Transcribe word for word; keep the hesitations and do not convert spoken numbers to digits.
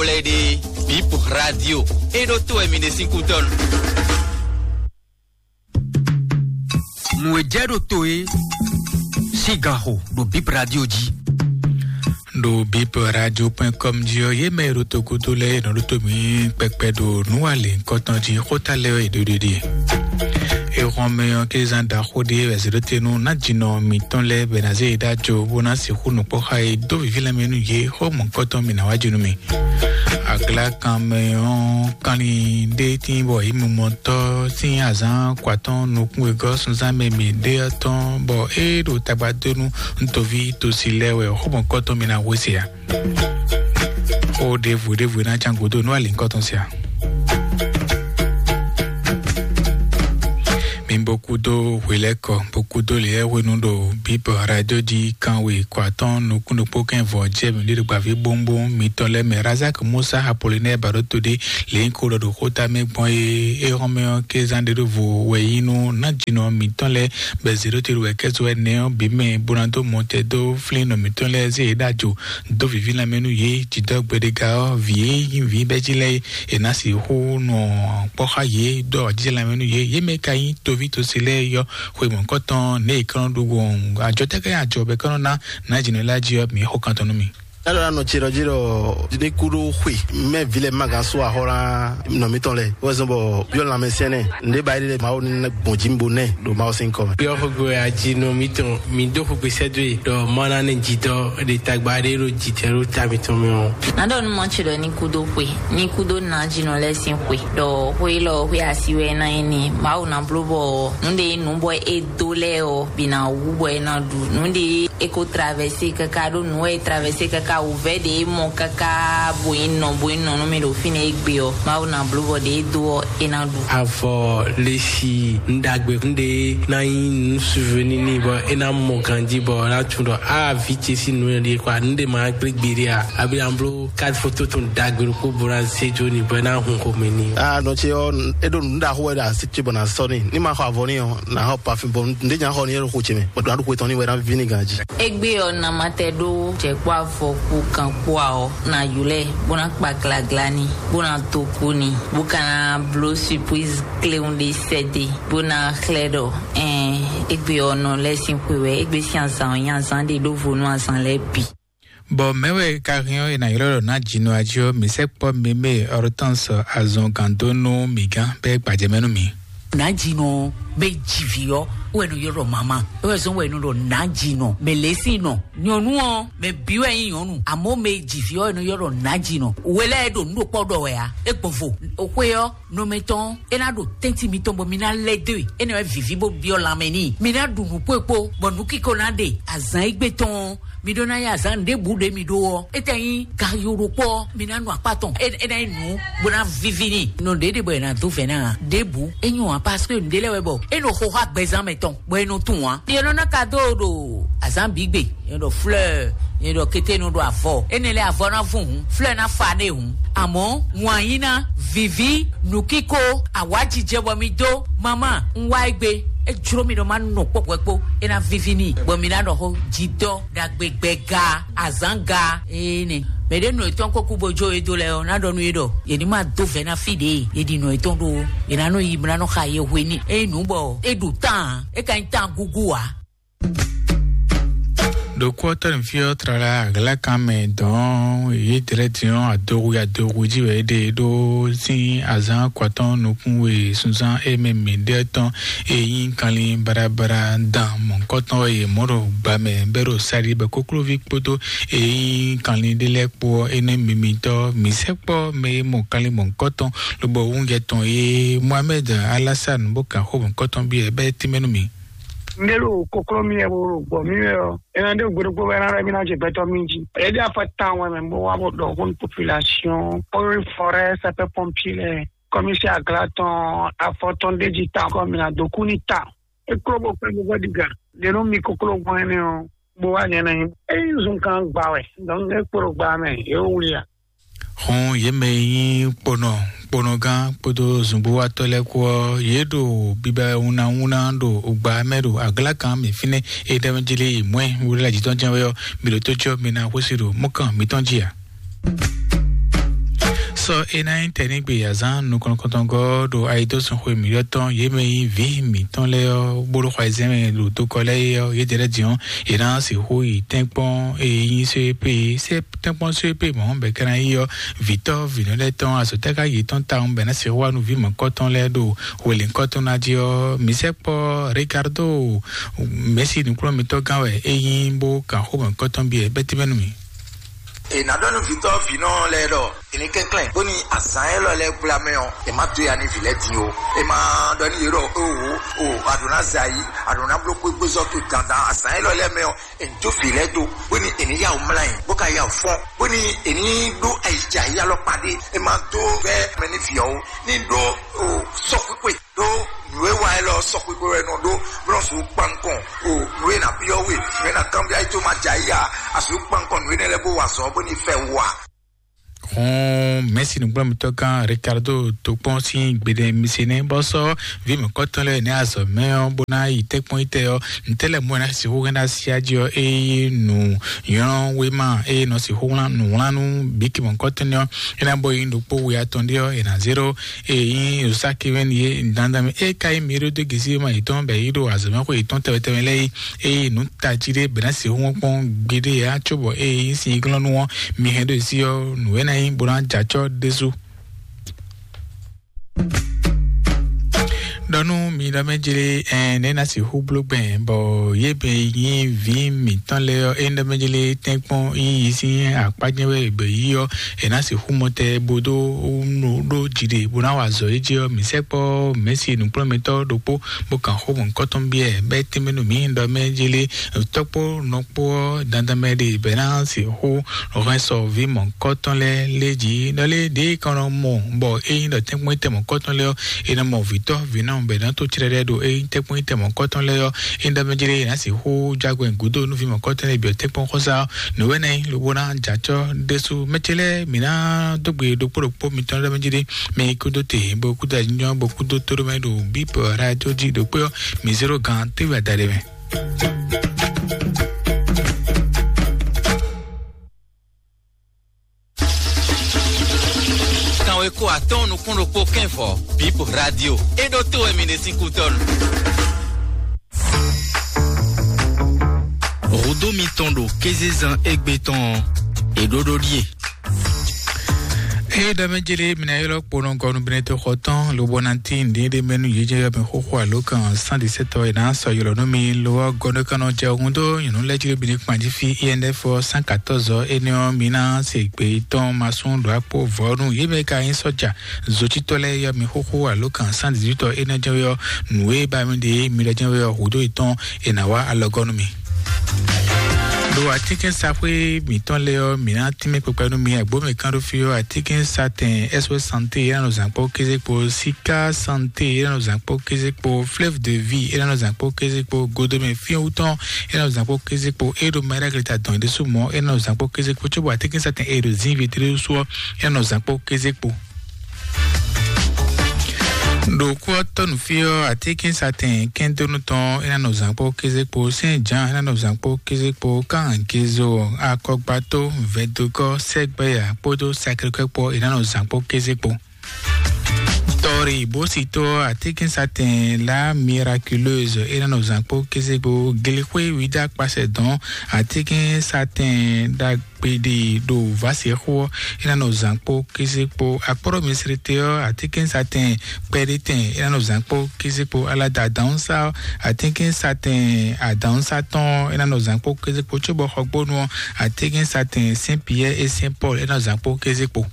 Kplé ɖe Bip Radio. E ɖo to wɛ mi ɖe sín kútɔ́nu. Nǔ e jɛ ɖo to e sín ganxo ɖo Bip Radio jí. Ɖo bip radio point com jí ɔ́, yě mɛ e ɖo togodo lɛ́ɛ e nɔ ɖo tó mǐ kpɛkpɛ ɖo nǔwalěnkɔtɔn jí xóta lɛ́ɛ ɔ́, è ɖo ɖiɖi. È hɔn mɛ ɔ́, kézan ɖaxó ɖé wɛ zě ɖó te nú nájínɔ mǐtɔn lɛ́ɛ bɔ è nǎ zé yě ɖó ajo bó ná sixú nukpɔ́ xá yě, dó vǐví lanmɛ nú yě, xó mɔ̌hunkɔtɔn mǐ ná wá jí nú mì. Aglǎkanmɛ ɔ́ kanlin ɖé tíin bɔ yě mimɔtɔ́ sín azǎn kɔ atɔ́ɔ́n nukún wegɔ́ sunzán mɛ mǐ ɖe ɔ́ tɔn, bɔ é ɖo tagba dó nú ntoví tosi lɛ́ɛ wɛ xó mɔ̌hunkɔtɔn mǐ ná hwe se ǎ. Xó ɖěvo ɖěvo e ná cán gǔdo nú alǐnkɔtɔn se ǎ. Mi bo kúdó hwelɛ́kɔ, bo kúdó lěyɛ́hwenu ɖo Bíbɔ Radio jí, kanwe kɔ atɔ́ɔ́n nukún ɖokpó kɛ́n vɔ jɛ mǐ ɖe ɖo gbǎví bónbón mitɔn lɛ́ɛ mɛ. Razak Musa Apolinɛ́ɛ ba ɖó to ɖé lě nyí ko ɖɔ ɖo xóta mɛ gbɔn é. É hɔn mɛ ɔ́, kézán ɖé ɖó vo wɛ nyí nú nájínɔ mitɔn lɛ́ɛ bɔ è zě ɖó te ɖo wɛ̌kɛ́zɔ́ ɛnɛ ɔ́ bǐ mɛ, bó ná dó mɔtɛn dó flín nɔ mǐtɔn lɛ́ɛ zé yě ɖó ajo, dó vǐví lanmɛ nú yě. Jǐdɔ́ gbeɖéga ɔ́, vǐ e nyí vǐ bɛ́jí lɛ́ɛ é, è nǎ sixú nɔ kpɔ́ xá yě, dó awǎjijɛ lanmɛ nú yě. Yě mɛ ka nyí toví tosi lɛ́ɛ yɔ́ xwe mɔ̌hunkɔtɔn nɛ̌ è ka nɔ ɖó gbɔn ajɔ tɛ́ ká nyí ajɔ bɔ è ka nɔ ná nǎjínɔ lɛ́ɛ jí ɔ́, mǐ xo kan tɔn nú mi. Nado anɔ tsi ɖɔ jí ɖɔ ní kú ɖó xwe mɛ vi lɛ ma gán sú axɔ ná nɔ mitɔn lɛ wɛ zɔn bɔ yɔ lanmɛ sɛnɛ nde ba yi lɛ Mawu ní gbɔn jí bo nɛ ɖo Mawu sín kɔ mɛ. Yɔ xogbe aji nɔ mitɔn mi dó xogbe sɛdó yi ɖɔ mɔ ná ne jitɔ ɖe tagba ɖe ɖo jitɛ ɖo ta mitɔn mɛ ɔ. Nado nu mɔ tsi ɖɔ ní kú ɖó xwe, ní kú ɖó nà jinɔ lɛ sín xwe, ɖɔ xwe lɔ xwe asi wɛ ná yi ni Mawu ná bló bɔ nu ɖe nu bɔ e dó lɛ ɔ bi ná wú bɔ e ná ɖu nu ɖe e ko traverser kaka ɖo nu e traverser kaka wǔvɛ́ ɖe e mɔ kaka bo yi nɔ bo yi nɔ nú mi ɖo fínɛ́ e gbe ɔ Mawu ná bló bɔ ɖe e dó ɔ e ná ɖu. Avɔ lesi nɖagbe nɖe ná nyí nu souvenir ni bɔ e ná mɔ ganji bɔ ná tún ɖɔ a vi ce sín nu ɖe kɔ nu ɖe ma gblé gbeɖe a abi ná bló carte photo tɔn ɖagbe ɖokpó bo ná zé jó ni bɔ e ná hun xomɛ ni. A nɔ ce ɔ e ɖo nu ɖaxó wɛ ɖo asi ce bɔ na sɔ ni ní ma xɔ avɔ ni ɔ na xɔ parfum bɔ nɖe nya xɔ ni e ɖo xo ce mɛ bɔ ɖo aɖo xo etɔn ni wɛ ná vi ni ganji. Egbe ɔ namatɛ ɖó jɛkpɔ avɔ kú kan kpó a ɔ na yulɛ bó ná kpa glagla ni bó ná to kú ni bó ka ná bló surprise kléwún ɖé sɛdé bó ná xlɛ ɖɔ ɛn egbe ɔ nɔ lɛ sín xwe wɛ egbe sín azan ɔ nyí azan ɖé ɖó vo nú azan lɛ́ɛ bǐ. Bɔ mɛ̌ wɛ ka hɛn ɔ́ è nǎ ylɔ́ ɖɔ ná jǐnɔ ají ɔ́, mǐ sɛkpɔ́ mɛ mɛ Hortense azɔn gǎn dó nú mǐ gán bɔ é gbajɛ mɛ nú mǐ. Nǎjínɔ bɛ jivǐ ɔ́ wɛ nɔ ylɔ́ ɖɔ mama é wɛ zɔn wɛ nɔ ɖɔ nǎjínɔ mɛ lě sín nɔ nyɔ̌nu ɔ́ mɛ bǐ wɛ nyí nyɔ̌nu àmọ́ mɛ jivǐ ɔ́ wɛ nɔ ylɔ́ ɖɔ nǎjínɔ wɛ lɛ́ɛ ɖo nǔ ɖokpɔ ɖɔ wɛ ǎ é gbɔn vo xwe ɔ́ nɔmɛtɔn é ná ɖo tɛ́ntin mitɔn bɔ mi ná lɛ́ dó e é ná wɛ vǐví bó byɔ́ lanmɛ n'i mi ná ɖu nǔ kpó e kpó bɔ nǔ kíko ná ɖe azǎn égbé tɔn mi ɖó ná yí azǎn ɖěbǔ ɖě mi ɖó ɔ́ é tɛ nyí gayó ɖokpó ɔ́ mi ná nu akpá tɔn é é ná nyí nǔ bó ná víví n'i nɔ ɖě ɖe bɔ è nǎ dó vɛ̌ ná ǎ ɖěbǔ é nyí wǎn parce que nǔɖé lɛ́ɛ wɛ bɔ é nɔ xo xá gbɛzán mɛ tɔn bɔ é nɔ tunwun ǎ. Yě nɔ ná ka dó ɖo azǎn bǐ gbe, yě nɔ ɖɔ fleur, yě nɔ ɖɔ kété nɔ ɖo avɔ. Énɛ́ lɛ́ɛ avɔ ná vún hǔn, fleur ná fa nɛ hǔn. Àmọ́ wǎn yí ná viví nǔkíko awǎjijɛ bɔ mi dó mama un wá é gbe. É jló mi ɖɔ má nɔ kpɔ́kpɔ́ kpó, é ná víví n'i, bɔ mi ná ɖɔ xó jidɔ ɖagbe gbɛga azǎn ga. Ee nɛ mɛ ɖé nɔ etɔn kó kú bo jó e dó lɛ ɔ́ ná ɖɔ nú yé ɖɔ yě ní má dó vɛ̌ ná fí ɖě yě ɖi nɔ etɔn ɖó, yě ná nɔ yi bó ná nɔ xa yé hwe ní é nǔ bɔ é ɖu tán é ka nyí tán gúgú ǎ. Ɖokpɔ́tɔ́ ní fí ɔ́ tlala aglǎkan mɛ dɔn yě dlɛ́ din ɔ́ adohu adohu jí wɛ é ɖe ɖó sín azǎn kɔtɔn nukún we sunzán é mɛ mǐ ɖe tɔn e nyí kanlin baɖabaɖa dan mɔ̌hunkɔtɔn wɛ yě mɔ ɖo gbǎ mɛ bɛ́ ɖo sáɖi bɔ koklóví kpódó e nyí kanlin ɖé lɛ́ɛ kpó ɔ́ énɛ́ mimitɔ́ mǐ sɛkpɔ́ mɛ e mɔ kanlin mɔ̌hunkɔtɔn lobo wúnjɛ tɔn e Mohamed Alassane bó kan xó mɔ̌hunkɔtɔn byɔ́ ɛ bɛ́ tínmɛ nú mǐ. Ndé ɖo kokló mi wɛ bo ɖo gbɔ mi wɛ ɔ. Ena ɖe gbeɖokpó wɛ na ɖe mi na dze gbɛtɔ mi dzi. Eɖe afɔ tan wɛ mɛ bo wa bo ɖɔ hon population, ori forêt, sapeur pompier lɛ, commissaire agla tɔn, afɔ tɔn ɖe dzi tan kɔ mi na do ku ni tan. Eklo bo kpɛ bo bɔ diga. Ɖe nɔ mi kokló gbɔn ɛnɛ ɔ, bo wa nyɛ na nyi. Eyi zun kan gba wɛ, donc ne kporo gba mɛ, e wuli a. Xɔn yě mɛ e nyí kponɔ kponɔgán kpódó zunbówatɔ́ lɛ́ɛ kpó ɔ́, yě ɖo biba wúnawúná ɖo gba mɛ ɖo aglá kan mɛ fínɛ́. Ényí ɖɔ mɛ jlé yi mɔ̌ wúlú lɛ jǐtɔn jɛ́n wɛ ɔ́, mi ɖo tó cyɔ mi ná xwésí ɖo mɔ̌kàn mitɔn jí ǎ. Sɔ é ná nyí tɛnígbe azán nukɔn kɔntɔngɔ ɖo ayidósun xwe mǐɖɔtɔn yě mɛ nyí vǐ mǐtɔn lɛ́ɛ ɔ́, bó ɖo xɔ ayizɛ́n mɛ ɖo tokɔ lɛ́ɛ é ɔ́, yědɛɛ lɛ́ɛ din ɔ́, yě ná sixú yi tɛ́nkpɔ́n e nyí só é pé, sɛ́ tɛ́nkpɔ́n só é pé mɔ̌ bɛ̌ ká ná yí ɔ́, vǐtɔ́ vǐnɔ lɛ́ɛ tɔn azɔ̌ táká yětɔn tawun bɛ̌ ná sixú wá nú vǐ mɔ̌kɔ́tɔn lɛ́ɛ ɖo hwelěnkɔ́tɔn ná jí ɔ́. Mǐ sɛkpɔ́ Ricardo Messi nǔkplɔ́nmítɔ́gán wɛ é nyí bó kan xó mɔ̌kɔ́tɔn byɔ́ bɛ́tímɛ́nu mì. È nǎ ɖɔ nú vǐtɔ́ vǐnɔ lɛ́ɛ ɖɔ è ní kɛnklɛ́n bóni azǎn élɔ́ lɛ́ɛ gbla mɛ ɔ́, è má dó ya nú vǐ lɛ́ɛ din ó. È má ɖɔ nú yě ɖɔ: "Oho, o, a ɖǒ ná zɛ ayǐ, a ɖǒ ná bló xwégbézɔ́ towe dandan." Azǎn élɔ́ lɛ́ɛ mɛ ɔ́, è ní dó vǐ lɛ́ɛ dó, bóni è ní yá wǔ mlá yǐ, bó ka yá wǔ fɔ́n, bóni è ní ɖó ayǐjǎyí alɔkpa ɖé. È má dó vɛ́ mɛ nú vǐ ɔ́ ó, ní ɖó o sɔ́xwíxwe. Ɖó nǔ e wa élɔ́ sɔxwixwe wɛ nɔ ɖó, bó nɔ sixú kpan nukɔn o nǔ e ná byɔ́ we, nǔ e ná kanbyɔ́ ayí tó ma jɛ ayí a, a sixú kpan nukɔn nǔ énɛ́ lɛ́ɛ bó wa azɔ̌ bó ní fɛ wu a? Hɔn Mɛsi nǔgbɔ́mítɔ́ gán Ricardo tó kpɔ́n sín gbeɖé mi se nɛ́ bɔ sɔ́ vǐ mǐkɔtɔn lɛ́ɛ nɛ́ azɔ̌ mɛ ɔ́, bó ná yi tɛ́kpɔ́n yi tɛ ɔ́, ntɛ́ lɛ́ɛ mɔ ná sixú hɛn ná sí ají ɔ́, eye nǔ nylɔ́ wéma eye nɔ sixú wlán nǔ wlán nú bǐki mɔ̌kɔtɔn ɔ́, é ná bɔ yi ɖokpó we atɔn ɖé ɔ́, è nǎ zé ɖó. Eyin osaki wɛn ye dandan mɛ e ka yi mi ɖo de gesi ma yitɔn bɛ yi ɖo azɔmɛxo yitɔn tɛwɛ tɛwɛ lɛ yi. Eye nu taji ɖe bɛ na si wɔn kpɔn gbeɖe ya tso bɔ eyin si glɔn nu wɔn mi hɛn ɖo si ɔ nu wɛ na yi bɔ na jatsɔ desu. Ɖɔnu mi ɖɔ mɛ jere ɛn ne na si hu blo gbɛn bɔ ye bɛ yi vi mi tɔn lɛ ɔ e ɖɔ mɛ jere tɛnkpɔn yi yi si akpajɛ wɛ bɛ yi ɔ e na si hu mɔtɛ bo do nu ɖo dzi ɖe bo na wa azɔ yi dzi ɔ mi sɛkpɔ mɛsi nukplɔmɛtɔ ɖokpo bo kan xo mɔ kɔtɔn biɛ bɛ tɛmɛ nu mi ɖɔ mɛ jere tɔkpo nɔkpo ɔ dandan mɛ ɖe bɛ na si hu hɛn sɔ vi mɔ kɔtɔn lɛ lɛ dzi ɖɔ lɛ ɖe kɔnɔ mɔ bɔ eyin ɖɔ tɛnkpɔn tɛ mɔ kɔtɔn lɛ ɔ e na mɔ vitɔ vinɔ bɛ na to tsrɛ ɖɛ ɖo eyin tɛnkpɔn tɛ mɔ kɔtɔn lɛ ɔ e ɖɔ mɛ jere na si hu jagbɛ gudo nu vi mɔ kɔtɔn lɛ biɔ tɛnkpɔn xɔsa nǔwɛnɛ lobo na jatsɔ ɖesu mɛtsɛ lɛ mi na dogbe ɖokpo ɖokpo mitɔn lɛ mɛ jere mi kudo te bo kudo anyɔ bo kudo to ɖo mɛ ɖo bip radio dzi ɖokpo ɔ mi zero gan tewe adaɖe mɛ. Kanwe ko atɔn nukún ɖokpó kɛnfɔ bip radio e ɖo to wɛ mi ɖe sín kútɔnu. Rodo mitɔn ɖo kézezan égbé tɔn ɔ́, è ɖó ɖó ɖíe. Eye ɖɔ mɛ jele mina yɔlɔ kponɔ gɔnu bene to xɔ tɔn lobo na ti ndi ɖe mɛnu yedze yɔ mɛ xoxo alo kan cent dix-sept ɔ ena sɔ yɔlɔ nú mi lo ɔ gɔnu kanɔ jɛ ohun do nyɔnu lɛ jele bene kpanji fi I N F cent quatorze ɔ ene ɔ mina se gbe tɔn ma sun ɖo akpo vɔ nu ye mɛ ka yin sɔja zotitɔ lɛ yɔ mi xoxo alo kan cent dix-huit ɔ ene jɛ yɔ nu e ba mi de mi lɛ jɛ yɔ hudo etɔn ena wa alɔgɔnu mi. Ɖo atínkɛ́nsaxwé mǐtɔn lɛ́ɛ ɔ́, mǐ ná tínmɛ kpekpe nú mi agbǒmɛ kán ɖó fí ɔ́, atínkɛ́nsatɛn S O S Santé é ná nɔ zǎn kpó kéze kpó, Sika Santé é ná nɔ zǎn kpó kéze kpó, Fleuve de Vie é ná nɔ zǎn kpó kéze kpó, Godomɛ Fíɛ́wútɔn é ná nɔ zǎn kpó kéze kpó, é ɖo Maɖagleta dɔn é ɖésú mɔ̌ é ná nɔ zǎn kpó kéze kpó, cóbɔ atínkɛ́nsatɛn é ɖo Zínvi Télésú ɔ́ é ná nɔ zǎn kpó kéze kpó. Ɖo kú ɔ́ tɔ́ nǔ fí ɔ́, atínkɛ́nsatɛn kɛ́ndónú tɔn é ná nɔ zǎn kpó kéze kpó, Sɛ́n Jǎan é ná nɔ zǎn kpó kéze kpó, Kánhankézo, Akɔgbató, Vɛdogɔ́, Sɛ́gbɛ́ya kpódó Sakrikɔ́ kpó é ná nɔ zǎn kpó kéze kpó. Tɔ́rí bó si tó atínkɛ́nsatɛn La Miraculeuse é ná nɔ zǎn kpó kéze kpó, Glixwé Wídá kpasɛ dɔn atínkɛ́nsatɛn ɖagbe kpeɖe ɖo vǎsɛxó ɔ́, é ná nɔ zǎn kpó kéze kpó. Akpɔ́ɖɔ Misrite ɔ́, atínkɛ́nsatɛn kpɛɖétɛn é ná nɔ zǎn kpó kéze kpó. Alada adǎnsá ɔ́, atínkɛ́nsatɛn adǎnsá tɔn ɔ́, é ná nɔ zǎn kpó kéze kpó. Cóbɔ xɔgbónu ɔ́, atínkɛ́nsatɛn Sɛ́n Piyɛ́ɛ é Sɛ́n Pɔ́lu é ná nɔ zǎn kpó kéze kpó.